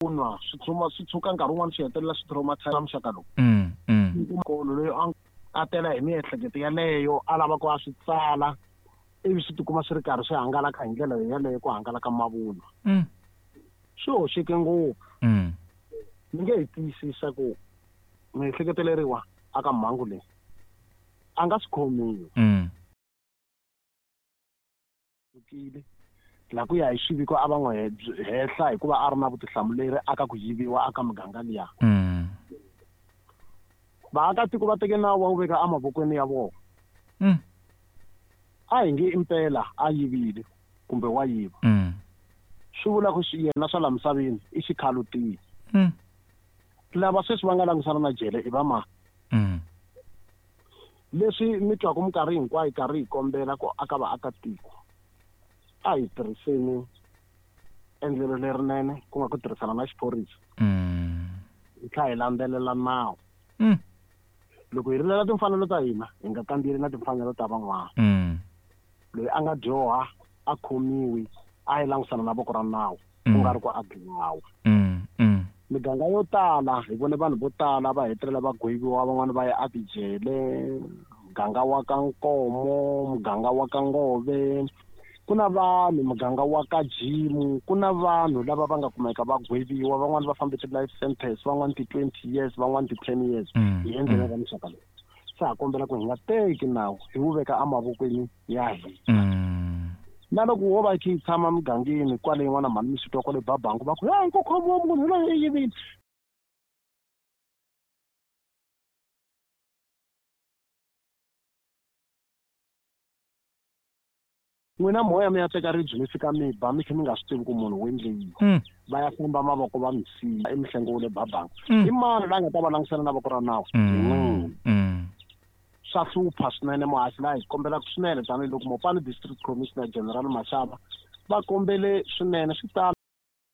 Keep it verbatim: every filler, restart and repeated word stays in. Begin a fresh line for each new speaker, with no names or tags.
Mavunwa swi tshuma swi tshuka nkarhi wun'wana swi hetelela swi traumatize muxaka lowu.
Mm, mm.
Kolo loyi a a tela hi miehleketo yaleyo a lava ku a swi tsala ivi swi tikuma swi ri karhi swi hangalaka hi ndlela yaleyo ku hangalaka mavunwa.
Mm.
Swi hoxeke ngopfu.
Mm.
Ni nge hi tiyisisa ku miehleketeleriwa aka mhangu leyi a nga swi khomiwi.
Mm.
La ku ya hi xiviko a va n'wi hehla hikuva a ri na vutihlamuleri aka ku yiviwa aka muganga liya.
Mm.
Vaakatiko va teke nawu va wu veka emavokweni ya vona.
Mm.
A hi nge impela a yivile kumbe wa yiva.
Mm.
Swi vula ku yena swa la misaveni i xikhalutini.
Mm.
Lava sweswi va nga langutisana na jele i va mani?
Mm.
Leswi mi twaku minkarhi hinkwayo karhi hi kombela ku aka vaakatiko a hi tirhiseni endlelo lerinene ku nga ku tirhisana na xiphorisa.
Mm.
Hi tlhela hi landzelela nawu.
Mm.
Loko hi rilela timfanelo ta hina hi nga kambeli na timfanelo ta van'wana.
Mm.
Loyi a nga dyoha a khomiwi a yi langutisana na voko ra nawu ku nga ri ku a dlawa.
Mm. Mm.
Miganga yo tala hi vone vanhu vo tala va hetelela va gweviwa van'wana va ya etijele, muganga wa ka Nkomo, muganga wa ka Ngove, ku na vanhu muganga wa ka Jimu, ku na vanhu lava va nga kumeka va gweviwa van'wana va fambe ti-life sentence, van'wana ti-twenty years, van'wana ti-ten years.
Mm.
Hi endlelo ra muxaka lowu. Sa ha kombela ku hi nga teki nawu hi wu veka emavokweni ya hina.
Mm.
Na loko wo va yi kha yi tshama mugangeni kwale yin'wana mhani mi swi twa kwale Babangu va ku hey ku khomiwa munhu loyi i yivile. N'wina moya mi ya teka ribye mi fika mi ba mi kha mi nga swi tivi ku munhu wu endle yini.
Mm.
Va ya famba mavoko va mi siya emihlengo wa le Babangu.
Mm.
I mani la nga ta va langutisana na voko ra nawu?
Mm.
Hi n'wina.
Mm.
Swa hlupha swinene muhaxi laha hi kombelaka swinene tanihiloko Mopani District Commissioner General Mashaba va kombele swinene swi tala.